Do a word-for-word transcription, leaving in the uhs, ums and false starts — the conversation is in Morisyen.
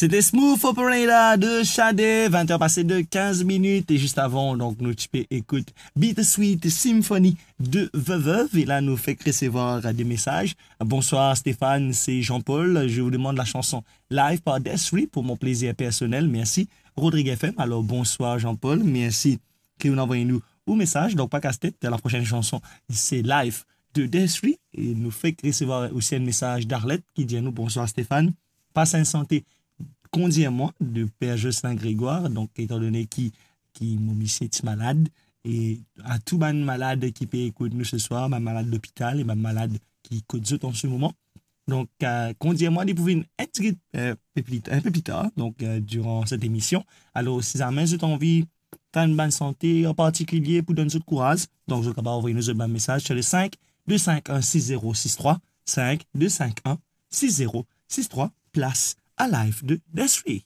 C'était Smooth Operator de Sade, vingt heures passées de quinze minutes. Et juste avant, donc, nou ti pe ekout Bittersweet Symphony de Veuve. Et là, nou fek resevwar des messages. Bonsoir Stéphane, c'est Jean-Paul. Je vous demande la chanson Live par Desri pour mon plaisir personnel. Merci. Rodrigue F M. Alors, bonsoir Jean-Paul. Merci ki ou'nn anvoy nou ou mesaz. Donk, pa kas tet, la prochaine chanson, c'est Live de Desri. E nou fek resevwar osi enn mesaz Darlette ki dir nou, "Bonsoir Stéphane. Pas enn sante Kondir Mwa de Père Jocelyn Grégoire." Donk, etan done ki, ki mo misie ti malad, e a tou bann malad ki pe ekout nou seswar, bann malad lopital e bann malad ki kot zot an se moman. Donk, euh, Kondir Mwa, li pou vinn enn tigit, euh, pe pli, enn pe pli tar, donk, euh, diran set emision. Alor, si zame zot anvi tann bann sante an partikilie pou donn zot kouraz, donk zot kapav anvoy nou zot bann mesaz sur le cinq deux cinq un six zéro six trois, cinq deux cinq un six zéro six trois, plas a Live de Desri.